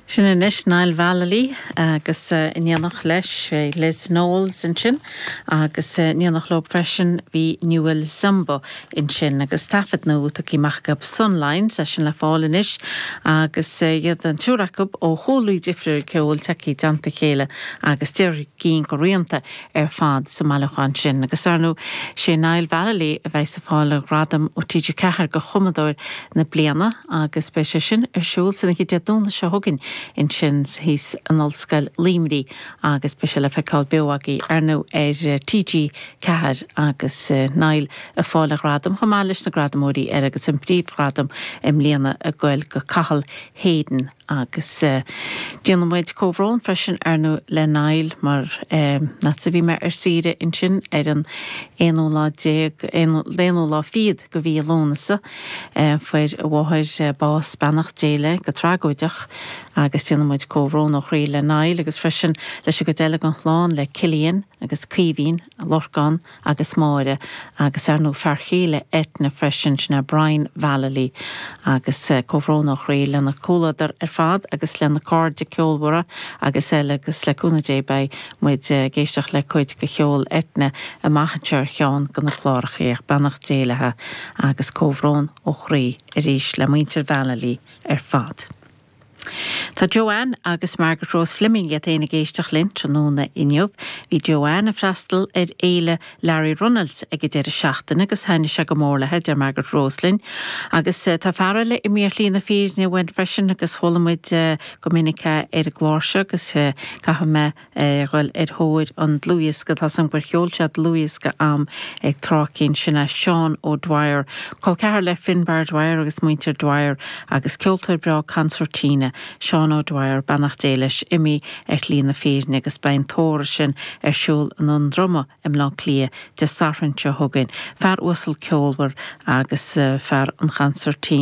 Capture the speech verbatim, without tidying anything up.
Sin anois Niall Vallely agus in éineacht leis Liz Knowles ansin agus in éineacht leo freisin bhí Newell Zumbo ansin agus taifead nua tugtha amach acu Sunlines é sin le fáil anois agus iad an triúr acu ó chúlraí difriúil ceoil tagtha i dteannta a chéile agus deir gin go rianta ar fad sa mbailiúchán sin agus ar ndóigh sé Niall Vallely a bheidh ag fáil a ghradam ó TG Ceathair go chumadóir na bliana agus beidh sé sin ar siúl san oíche Dé Domhnaigh seo chugainn ansin thíos in Ollscoil Luimnigh agus beidh sé le feiceáil beo agaibh ar ndóigh ar TG Ceathair agus Niall ag fáil a ghradam chomh maith leis na gradamóirí ar agus an príomhghradam i mbliana ag goil go Cathal Hayden agus déanann muid comhbhrón freisin ar ndóigh le Niall mar nuair a bhí mé ar saoire ansin ar an aonú lá déag aonú lá fichead de mhí Lúnasa fuair a mháthair bás beannacht Dé léi go tragóideach agus déanann muid comhbhrón ó chroí le Niall agus freisin leis an gcuid eile den chlann le Cillian agus Caoimhín Lorcán agus Máire agus ar ndóigh fear céile Eithne freisin sin é Brian Vallely agus comhbhrón ó chroí lena comhluadar ar fad agus lena cairde ceolmhara agus eile agus le cúnamh Dé beidh muid ag éisteacht le cuid de cheol Eithne amach anseo ar cheann de na cláracha beannacht Dé léi agus comhbhrón ó chroí arís le muintir Vallely ar fad. Tá Joanne agus Margaret Rose Fleming iad féin ag éisteacht linn tráthnóna inniu. Bhí Joanne ag freastal ar fhéile Larry Runnels ag an deireadh seachtaine agus thaitnigh sé go mór léi deir Margaret Rose linn. Agus tá fear eile imithe ar shlí na fírinne uainn freisin agus chuala muid go minic ar an gclár seo agus caithfidh mé dhul ar thóir an dlúthdhiosca tá san gur cheol sé dlúthdhiosca am ag tráth éigin sin é Seán O'Dwyer, Col ceathar le Finbar Dwyer agus muintir Dwyer agus ceoltóir breá concertina Seán O'Dwyer beannacht Dé leis imithe ar shlí na fírinne agus beidh an tórramh sin ar siúl i nDún Droma i mBleá Cliath Dé Sathairn seo chugainn. Fear uasal ceolmhar agus fear an chansairtín.